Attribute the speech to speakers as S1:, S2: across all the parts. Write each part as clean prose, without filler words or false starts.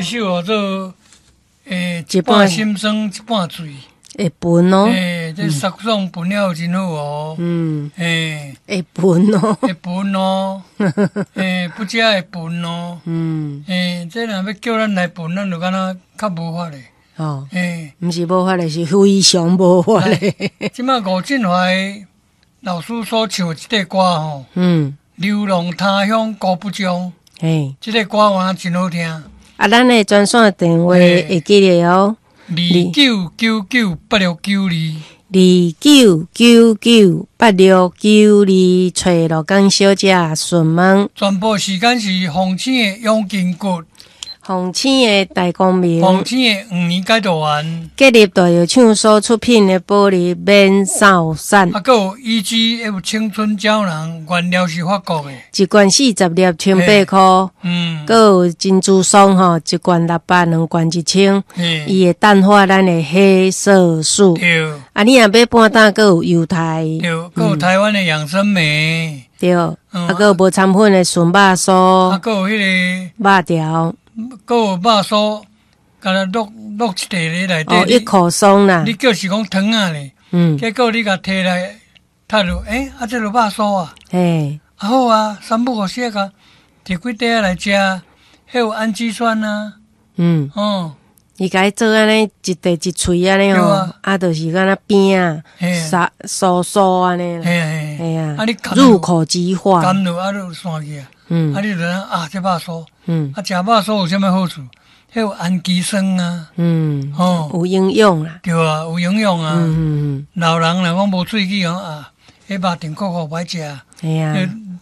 S1: 這首叫做欸，一
S2: 一半
S1: 半心酸，一半醉。
S2: 會歕哦。
S1: 欸，這殺爽歕了真好哦。欸，
S2: 會歕哦。
S1: 會歕哦。欸，不食會歕哦。欸，這若欲叫咱來歕，咱就敢若較無法咧。欸，
S2: 毋是無法咧，是非常無法咧。
S1: 這擺吳振華老師所唱的這個歌吼，流浪他鄉孤不終。這個歌原來真好聽。
S2: 啊，咱的專線電話會記得哦。
S1: 29998692。
S2: 29998692，揣鹿港小姐詢問。
S1: 全部時間是鳳青的養筋骨。
S2: 鳳青的大光明。
S1: 鳳青的黃連解毒丸。
S2: 吉立大藥廠所出品的保利免掃散。
S1: 啊，閣有 EGF 青春膠囊，原料是法國的。
S2: 一罐40粒，1,800箍。閣有珍珠霜吼，一罐600，兩罐1000。伊會淡化咱的黑色素。啊，你若買半擔，閣有優待。
S1: 對，閣有台灣的養生酶。
S2: 對。啊，閣有無摻粉的純肉酥。
S1: 啊，閣有彼個
S2: 肉條。
S1: 閣有肉酥，敢若落落一塊咧內底。
S2: 哦，一口鬆啦。
S1: 你叫是講糖仔咧，結果你共提來讀落，欸，啊，這就肉酥啊。啊好啊，三不五時共提幾塊仔來食，彼有氨基酸啊。
S2: 伊共伊做按呢一塊一喙按呢吼，啊，就是敢若餅仔，酥酥按呢。嘿啊。
S1: 啊，你
S2: 入口即化。
S1: 含落啊，就散去啊。啊，你就知影啊，這肉酥。啊，食肉酥有啥物好處？彼有氨基酸啊。
S2: 有營養啦。
S1: 對啊，有營養啊。老人若講無喙齒講啊，彼肉甜苦苦歹食。
S2: 嘿啊。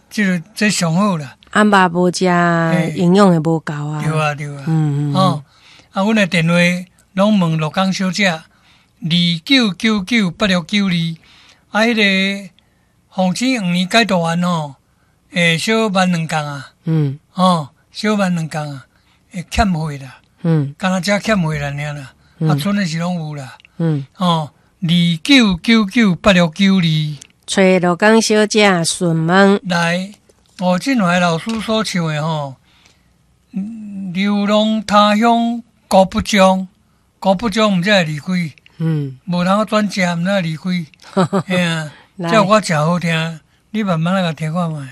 S1: 這個這上好啦。
S2: 啊，肉無食，營養會無夠啊。
S1: 對啊，對啊。啊，阮的電話攏問鹿港小姐，29998692。啊，彼個鳳青黃連解毒丸吼，會小萬兩工啊。小萬兩工啊，會欠貨啦。敢若這欠貨啦爾啦。啊，賰的是攏有啦。29998692。
S2: 揣鹿港小姐詢問。
S1: 來，吳振華老師所唱的吼，流浪他鄉孤不終，孤不終毋知會離開。無通轉食，毋知會離開。嘿啊，這首歌誠好聽，你慢慢來共聽看覓。